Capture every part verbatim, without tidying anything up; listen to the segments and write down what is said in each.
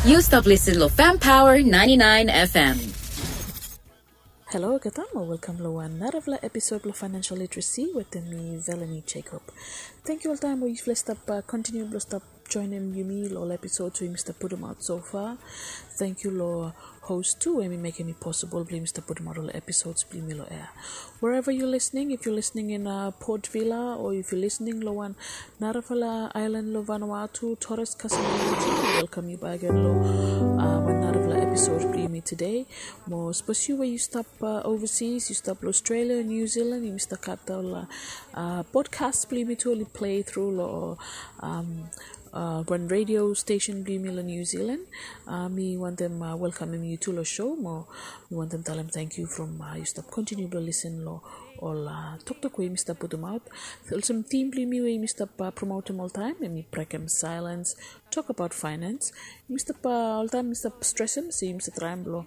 Yu stap lisen lo Fam Power ninety nine F M. Halo olgeta, mo welkam lo wan narafala episod blo Financial Literacy wetem mi, Velanie Jacob. Tangkiu oltaem we yufala i stap kontiniu blo stap joenem yumi lo ol episods we yumi stap putumaot so far. Tangkiu lo hos tu we hemi mekem i posibol blo yumi stap putumaot ol episods blo yumi lo ea. Wherever you're listening, if you're listening in Port Vila, o if you're listening lo wan narafala aelan lo Vanuatu, Torres, Kasem Aelan, welkam yu bakegen lo wan narafala episod blo yumi tede. Mo sapos yu we yu stap overseas, yu stap lo Australia, New Zealand, yumi stap gat ol podcast blo yumi tu oli play tru lo wan radio stesen blo yumi lo New Zealand. Mi wantem welkamem yu tu lo show, mo mi wantem talem tangkiu from yu stap kontiniu blo lisen lo ol toktok we yumi stap putumaot. Olsem tim blo yumi we yumi stap promotem oltaem, hemi Brekem Silence, Tok Abaot Finance. Yumi stap, oltaem mi stap stresem se yumi stap traem blo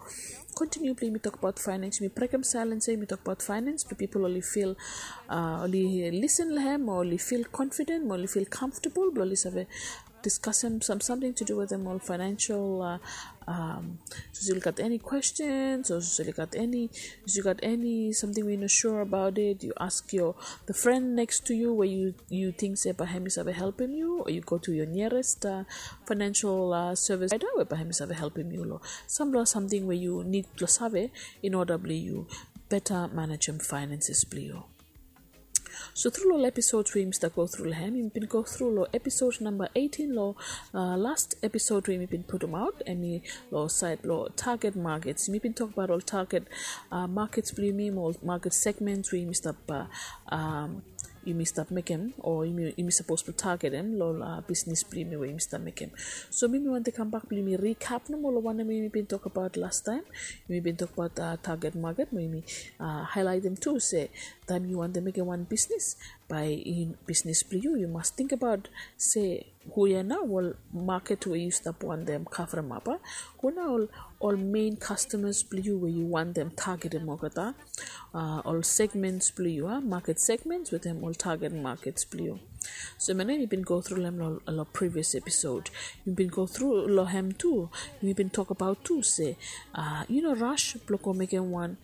kontiniu blo yumi tokbaot finance. Yumi brekem silence ia, yumi tokbaot finance blo pipol oli fil, oli lisen lo hem, o oli fil confident, mo oli fil comfortable blo oli save diskasem sam samting to do wetem ol financial, sapos yu gat eni questions, o sapos yu gat eni, sapos yu gat eni samting we yu no sure about it, yu ask your, the friend next to you we yu ting se bae hemi save helpem yu, o yu go to your nearest financial service provider we bae hemi save helpem yu lo sam blo samting we yu nid blo save in order blo yu beta manejem finances blo yu. So tru lo ol episods we yumi stap go tru lo hem, yumi bin go tru lo episod namba eighteen lo last episod we yumi bin putumaot, hemi lo saed blo target markets. Yumi bin tokbaot ol target markets blo yumi, mo ol market segments we yumi stap yumi stap mekem, o yumi sapos blo targetem lo ol bisnis blo yumi we yumi stap mekem. So mi mi wantem kambak blo yumi recap nomo lo wanem yumi bin tokbaot lastaem. Yumi bin tokbaot target market, mo yumi haelaetem tu se taem yu wantem mekem wan bisnis, bae bisnis blo yu, yu mas tingbaot se hu ia nao ol market we yu stap wantem kavremap. Hu nao ol, ol main customers blo yu we yu wantem targetem olgeta, ol segments blo yu, market segments wetem ol target markets blo yu. So hemia nao yumi bin go tru lo hem lo previous episode. Yumi bin go tru lo hem tu, yumi bin tokbaot tu se yu no rush blo go mekem wan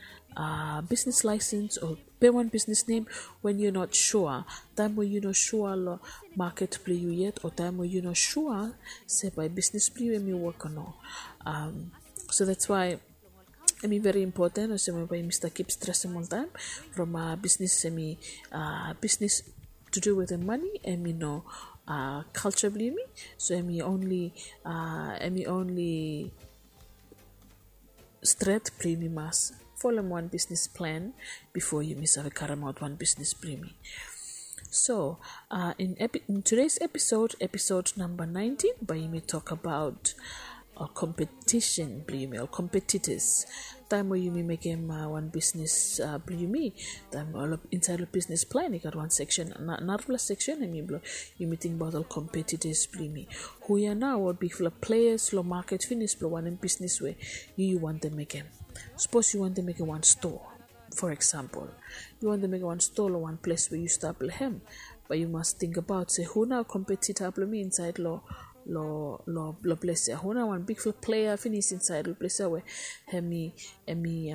business license o pem wan business name when you're not sure. Taem we yu no sure lo market blo yu yet, o taem we yu no sure se bae bisnis blo yu hemi wok o no. So that's why hemi very important, olsem we bae yumi stap kip stresem oltaem from bisnis, hemi bisnis to do wetem mane, hemi no culture blo yumi. So hemi only, hemi only stret blo yumi mas folem wan bisnis plan bifo yumi save karemaot wan bisnis blo yumi. So in today's episode, episode namba nineteen, bae yumi tokbaot ol competition blo yumi, ol competitors. Taem we yumi mekem wan bisnis blo yumi, taem insaed lo bisnis plan i gat wan seksen, narafala seksen hemi blo yumi tingbaot ol competitors blo yumi. Hu ia nao ol bigfala players lo market finis blo wanem bisnis we yu, yu wantem mekem. Sapos yu wantem mekem wan stoa, for example, yu wantem mekem wan stoa lo wan ples we yu stap lo hem, bae yu mas tingbaot se hu nao competitor blo mi insaed lo, lo, lo ples ia. Hu nao wan bigfala player finis insaed lo ples ia we hemi, hemi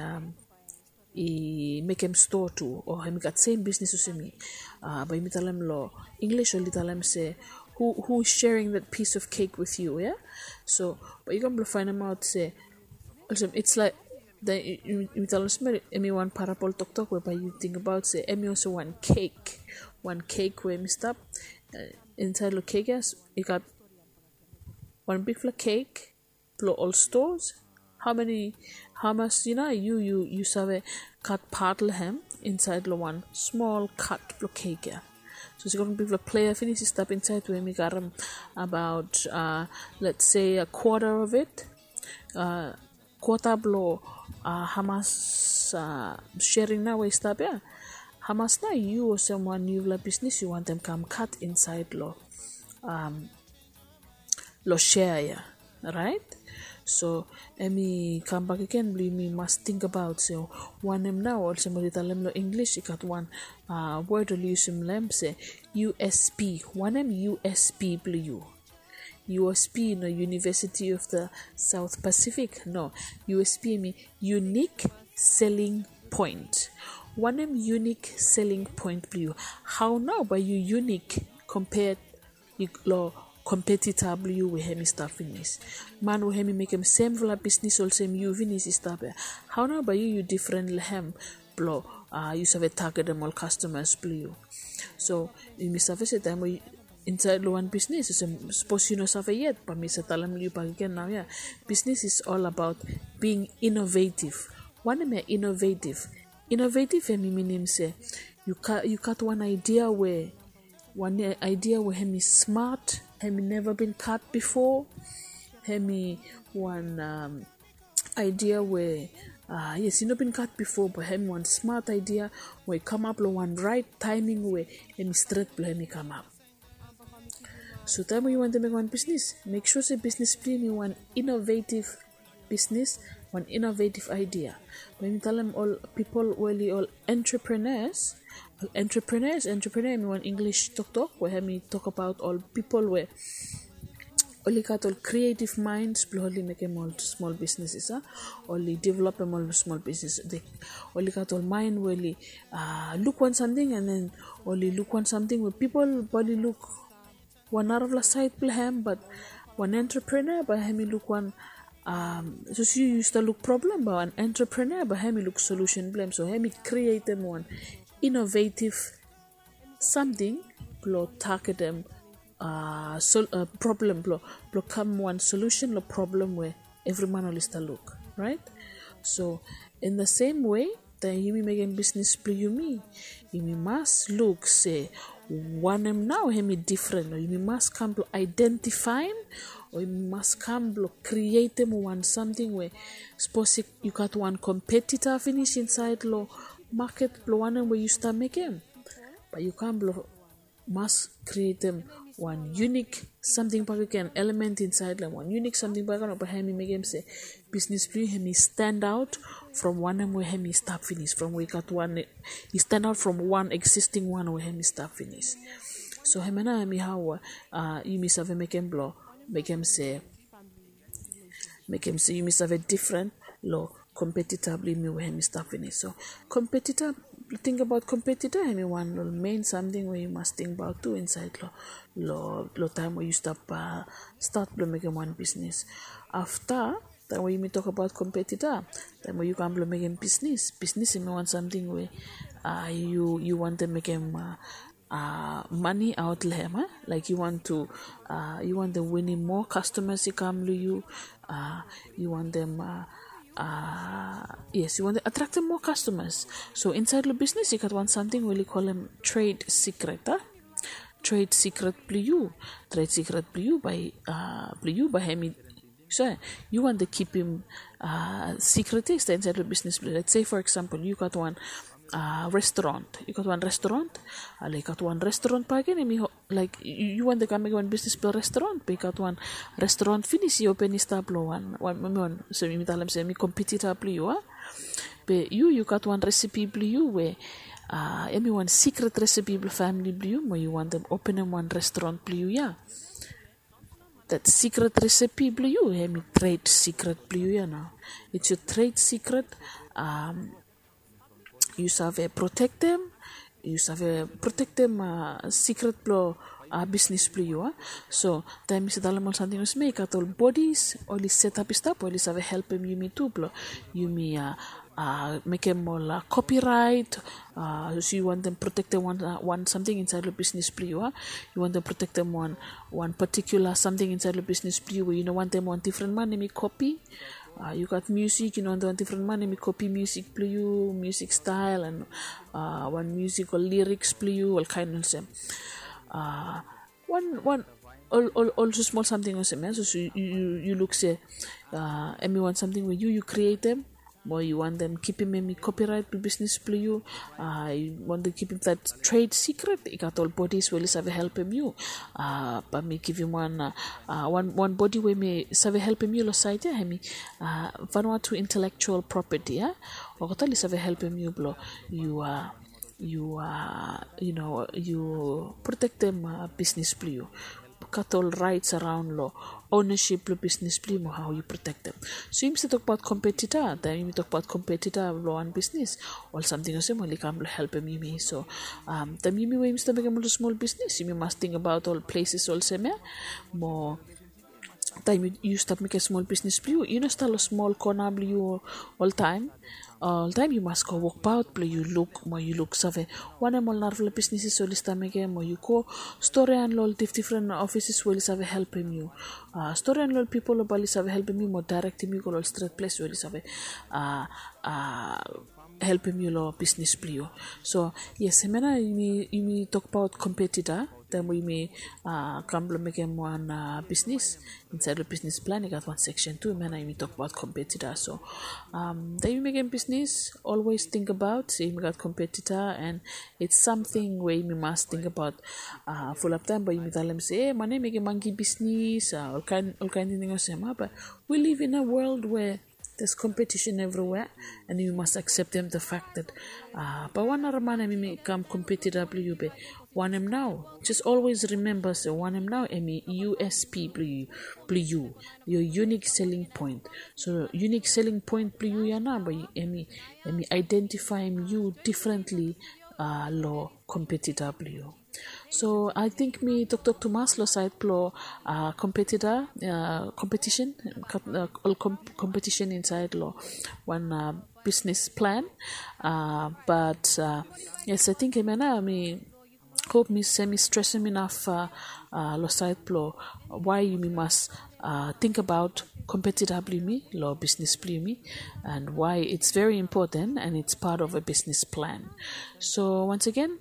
i mekem stoa tu, o hemi gat sem bisnis olsem mi. Bae yumi talem lo English, oli talem se, who, who is sharing that piece of cake with you, ia? So bae yu kam blo faenemaot se, olsem, it's like, yumi talem olsem, hemi wan parable toktok we bae yu tingbaot se hemi olsem wan cake. Wan cake we hemi stap insaed lo cake ia, i gat wan bigfala cake blo ol stoas. Hao mani, hamas, yu nao, yu, yu, yu save kat pat lo hem insaed lo wan smol kat blo cake ia. So sapos i gat wan bigfala player finis i stap insaed we hemi karem abaot, let's say, a quarter of it, kwata blo hamas sharing nao we i stap ia. Hamas nao yu olsem wan niufala bisnis yu wantem kam kat insaed lo lo share ia, right? So hemi kambak agen blo yumi mas tingbaot se wanem nao, olsem oli talem lo English, i gat wan word oli yusum lo hem se U S P. Wanem U S P blo yu? U S P, no, University of the South Pacific, no. U S P hemi unique selling point. Wanem unique selling point blong yu? Hao nao bae yu unique compared long competitor blong yu we hemi stap finis? Man we hemi mekem semfala bisnis olsem yu finis i stap ia. Hao nao bae yu yu difren long hem blong yu save targetem ol customers blong yu? So yumi save se taem we insaed long wan bisnis, olsem sapos yu no save yet, bae mi save talem long yu bakegen naoia. Bisnis is all about being innovative. Wanem ia innovative? Innovative hemi minim se yu gat wan idea we, wan idea we hemi smart, hemi neva bin gat bifo, hemi wan idea we, yes, i no bin gat bifo, be hemi wan smart idea we i kamap long wan raet taeming we hemi stret blong hemi kamap. So taem we yu wantem mekem wan bisnis, mek sua se bisnis blong yu hemi wan innovative bisnis, wan innovative idea. Bae mi talem ol pipol we oli ol entrepreneurs. Ol entrepreneurs, entrepreneur hemi wan English toktok we hemi tokbaot ol pipol we oli gat ol creative minds blong oli mekem ol smol bisnis ia. Oli developem ol smol bisnis. Oli gat ol mind we oli luk wan samting, and then oli luk wan samting we pipol bae oli luk wan narafala saed blong hem, be wan entrepreneur bae hemi luk wan, sapos yu stap luk problem, be wan entrepreneur bae hemi luk solution blong hem. So hemi krietem wan innovative samting blong targetem problem, blong, blong kam wan solution long problem we evri man oli stap luk, raet? So in the same way, taem yumi mekem bisnis blong yumi, yumi mas luk se wanem nao hemi difren, o yumi mas kam blong identify, o yumi mas kam blong krietem wan samting we sapos yu gat wan competitor finis insaed long maket blong wanem we yu stap mekem, bae yu kam blong mas krietem wan unique samting bakegen, element insaed long hem, wan unique samting bakegen, o bae hemi mekem se bisnis blong yu hemi stand out from wanem we hemi stap finis, from we i gat wan, i stand out from wan existing wan we hemi stap finis. So hemia nao hemi hao yumi save mekem blong mekem se, mekem se yumi save difren long competitor blong yumi we hemi stap finis. So competitor, tingbaot competitor hemi wan long main samting we yu mas tingbaot tu insaed long, long taem we yu stap stat blong mekem wan bisnis. Afta taem we yumi tokbaot competitor, taem we yu kam blong mekem bisnis, bisnis hemi wan samting we yu, yu wantem mekem mane aot long hem, a? Laek yu wantem, yu wantem winim moa customers i kam long yu, yu wantem, yes, yu wantem attractem moa customers. So insaed long bisnis i gat wan samting we oli kolem trade secret, a? Trade secret blong yu, trade secret blong yu bae, blong yu bae hemi, so yu wantem kipim secret ia i stap insaed long bisnis blong yu. Let's say for example yu gat wan restaurant, yu gat wan restaurant, ale i gat wan restaurant bakegen hemi, laek yu wantem kam mekem wan bisnis blong restaurant, be i gat wan restaurant finis i open i stap long wan, wan, wan, olsem yumi talem se hemi competitor blong yu, a? Be yu, yu gat wan recipe blong yu we hemi wan secret recipe blong famili blong yu, mo yu wantem openem wan restaurant blong yu ia. That secret recipe blong yu hemi trade secret blong yu ia nao. It's your trade secret. Yu save protektem, yu save protektem secret blong bisnis blong yu, a? So taem mi save talem ol samting olsem ia, i gat ol bodies oli setap i stap, oli save helpem yumi tu blong yumi mekem ol copyright. Sapos yu wantem protektem wan, wan samting insaed long bisnis blong yu, a? Yu wantem protektem wan, wan particular samting insaed long bisnis blong yu we yu no wantem wan difren man hemi kopi. Yu gat musik, yu no wantem wan difren man hemi kopi musik blong yu, musik stael, and wan musik o lyrics blong yu, olkaen olsem. Wan, wan, ol, ol, ol smol samting olsem ia. So, so yu, yu, yu luk se hemi wan samting we yu, yu krietem, mo yu wantem kipim hemi copyright blong bisnis blong yu, yu wantem kipim that trade secret, i gat ol bodies we oli save helpem yu. Bae mi givim wan, wan, wan bodi we hemi save helpem yu long saed ia, hemi Vanuatu Intellectual Property, a? Olgeta oli save helpem yu blong yu, yu, yu no, yu protektem bisnis blong yu. gat ol raets araon long ownaship blong bisnis blong yu mo hao yu protektem. So yumi save tokbaot kompetita. Taem yumi tokbaot kompetita long wan bisnis, ol samting olsem oli kam blong helpem yumi. So taem yumi we yumi stap mekem ol smol bisnis, yumi mas tingbaot ol pleses olsem ya. Mo taem yu stap mekem smol bisnis blong yu, yu no stap long smol kona blong yu oltaem. Oltaem yu mas go wokbaot blong yu luk mo yu luk save wanem ol narafala bisnis oli stap mekem, mo yu go storian long ol difdifren ofises we oli save helpem yu. Storian long ol pipol we bae oli save helpem yu mo daerektem yu go long ol stret ples we oli save helpem yu long bisnis blong yu. So yes, hemia nao yumi tokbaot kompetita. Taem we yumi kam blong mekem wan bisnis, insaed long bisnis plan i gat wan seksen tu, hemia nao yumi tokbaot kompetita. So taem yumi mekem bisnis, olwes tingbaot se yumi gat kompetita, and it's samting we yumi mas tingbaot. Fulap taem bae yumi talem se, e man ya i mekem manki bisnis, olkaen tingting olsem. Bae we live in a world we there's competition everywhere, and yumi mas akseptem the fact that bae wan nara man hemi kam kompetita blong yu be wanem nao. Just olwes rimemba se wanem nao hemi USP blong yu, your unique selling point. So unique selling point blong yu ya nao bae hemi aedentifaem yu difrentli long kompetita blong yu. So ae ting mi toktok tumas long saed blong kompetita, kompetisen, ol kompetisen insaed long wan bisnis plan. Bat yes, ae ting hemia nao mi hop se mi stresem inaf long saed blong wae yumi mas tingbaot kompetita blong yumi long bisnis blong yumi, and wae it's very important and it's part of a business plan. So once again,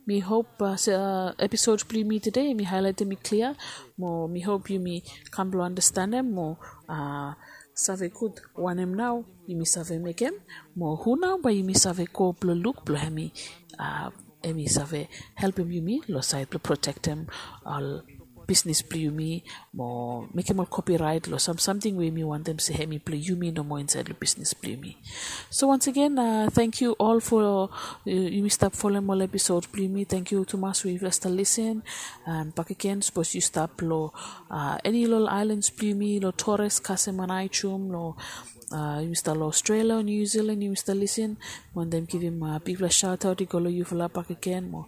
mi hop se episod blong yumi tede mi haelaetem i klia, mo mi hop yumi kam blong andastanem mo save gud wanem nao yumi save mekem, mo hu nao bae yumi save go blong luk blong hemi save helpem yumi long saed blong protektem ol bisnis blong yumi, mo mekem ol kopiraet long sam samting we yumi wantem se hemi blong yumi nomo insaed long bisnis blong yumi. So once again, tangkiu ol fo yumi stap folem ol episod blong yumi. Tangkiu tumas we yufala stap lisin. And bakegen sapos yu stap long eni long ol aelans blong yumi, long Torres, Kasem and Aegium, long yumi stap long Australia o New Zealand, yumi stap lisin, mi wantem givim bigfala shaotaot i go long yufala bakegen. Mo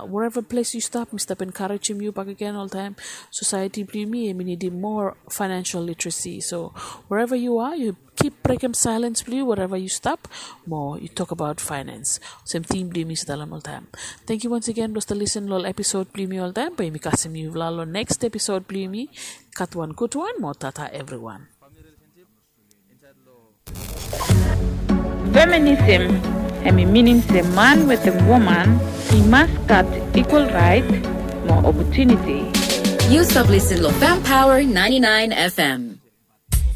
wherever ples yu stap, mi stap enkarejem yu bakegen oltaem. Sosaeti blong yumi hemi nidim moa financial literacy. So wherever you are, yu kip brekem saelens blong yu wherever yu stap, mo yu tokbaot finance olsem tim blong yumi stap long oltaem. Tangkiu once again blong stap lisin long ol episod blong yumi oltaem. Bae yumi kasem yufala long next episod blong yumi. Gat wan gudwan mo tata evriwan. Feminism hemi minim se man wetem woman i mas gat ikwal raet mo opotuniti. Yu stap lisin long Fem Power ninety-nine F M.